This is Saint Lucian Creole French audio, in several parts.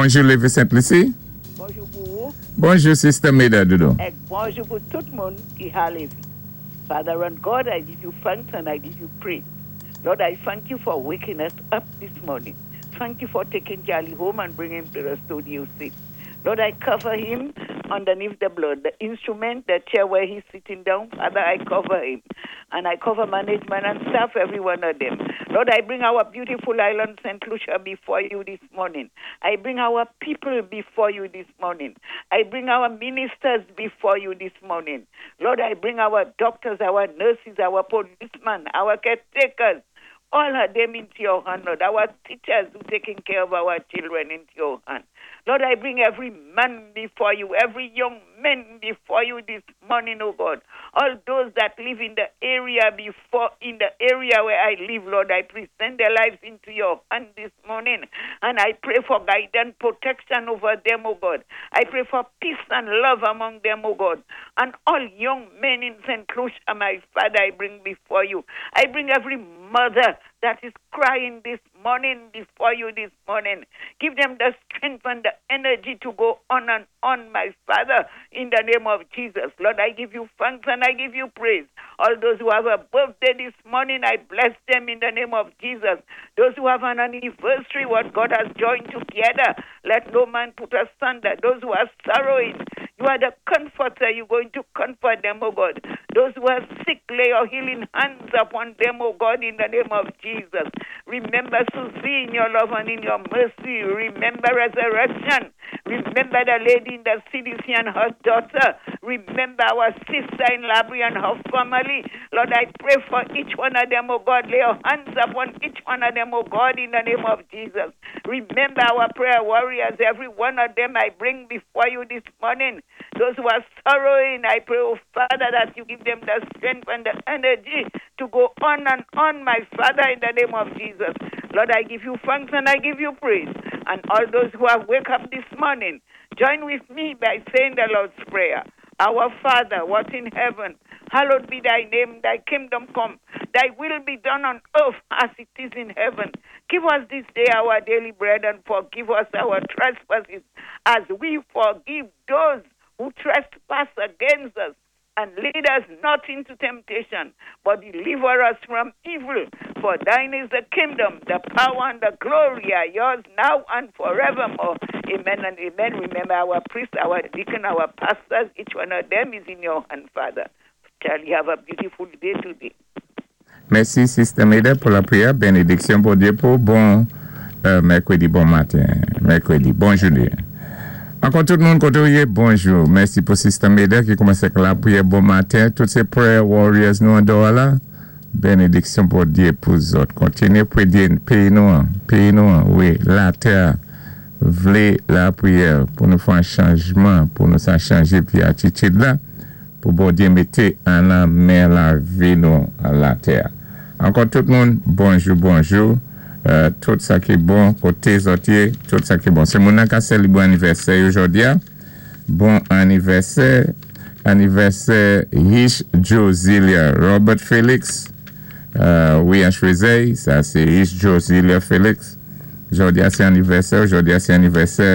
Bonjou, Lévis Sainte-Lucie. Bonjou pou ou. Bonjou, Sister Meda Doudou. Èk bonjou pou tout moun ki a Lévis. Father and God, I give you thanks and I give you praise. Lord, I thank you for waking us up this morning. Thank you for taking Charlie home and bringing him to the studio safe. Lord, I cover him underneath the blood. The instrument, the chair where he's sitting down, Father, I cover him. And I cover management and staff, every one of them. Lord, I bring our beautiful island, St. Lucia, before you this morning. I bring our people before you this morning. I bring our ministers before you this morning. Lord, I bring our doctors, our nurses, our policemen, our caretakers, all of them into your hand, Lord. Our teachers who taking care of our children into your hand. Lord, I bring every man before you, every young man before you this morning, oh God. All those that live in the area before, in the area where I live, Lord, I present their lives into your hand this morning. And I pray for guidance, protection over them, oh God. I pray for peace and love among them, oh God. And all young men in St. Lucia, my Father, I bring before you. I bring every mother that is crying this morning before you this morning. Give them the strength and the energy to go on and on, my Father, in the name of Jesus. Lord, I give you thanks and I give you praise. All those who have a birthday this morning, I bless them in the name of Jesus. Those who have an anniversary, what God has joined together, let no man put asunder. Those who are sorrowing, you are the comforter. You're going to comfort them, oh God. Those who are sick, lay your healing hands upon them, oh God, in the name of Jesus. Remember Susie in your love and in your mercy. Remember resurrection. Remember the lady in the CDC and her daughter. Remember our sister in Labrie and her family. Lord, I pray for each one of them, oh God. Lay your hands upon each one of them, oh God, in the name of Jesus. Remember our prayer warriors, every one of them I bring before you this morning. Those who are sorrowing, I pray, oh Father, that you give them the strength and the energy to go on and on, my Father, in the name of Jesus. Lord, I give you thanks and I give you praise. And all those who have wake up this morning, join with me by saying the Lord's Prayer. Our Father, what in heaven, hallowed be thy name, thy kingdom come, thy will be done on earth as it is in heaven. Give us this day our daily bread and forgive us our trespasses as we forgive those who trespass against us. And lead us not into temptation, but deliver us from evil. For thine is the kingdom, the power, and the glory are yours now and forevermore. Amen and amen. Remember our priests, our deacon, our pastors, each one of them is in your hand, Father. Charlie, have a beautiful day today. Mèsi, Sister Meda, pou lapriyè. Benediksyon Bondye pou bon mèkredi, bon maten. Mèkredi, bon jounen. Ankò tout moun koté ou yé, bonjou. Mèsi pou Sister Meda ki koumansé ak lapriyè bon maten. Tout sé prayer warriors nou andò la. Benediksyon Bondye pou zòt. Kontinyé pwédyé péyi nou an, péyi nou an, wi, latè vlé lapriyè pou nou fè an chanjman, pou nou sa chanjé vyé atitid la. Pou Bondye mété an nan men lavi nou latè. Ankò tout moun bonjou bonjou tout sa ki bon koté zòt yé tout sa ki bon sé moun nan ka sèlibré anivèsè yo jòdi a bon anivèsè anivèsè Hish Josilia Robert Felix wi an Chwezèy sa sé Hish Josilia Felix Jodi a se anivèsè w, jodi a se anivèsè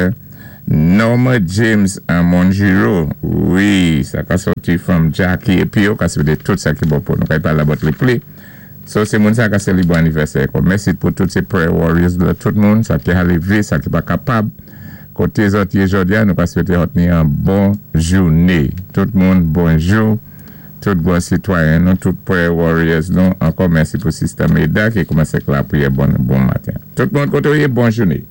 Norma James Monjiro wi sa ka soti from Jackie epi yo ka swete tout sa ki bon pou nou ka pale about li pli so se moun sa ka selebre anivèsè ko mèsi pou tout se prayer warriors la tout moun sa ki aleve sa ki pa kapab kote zòt ye jodi a nou ka swete zòt ni an bon joune tout moun bonjou. Tout bon sitwayen nou, tout prayer warriors nou, ankò mèsi pou Sister Meda ki koumanse ak lapriyè bon bon maten. Tout moun kote ou ye, bon joune.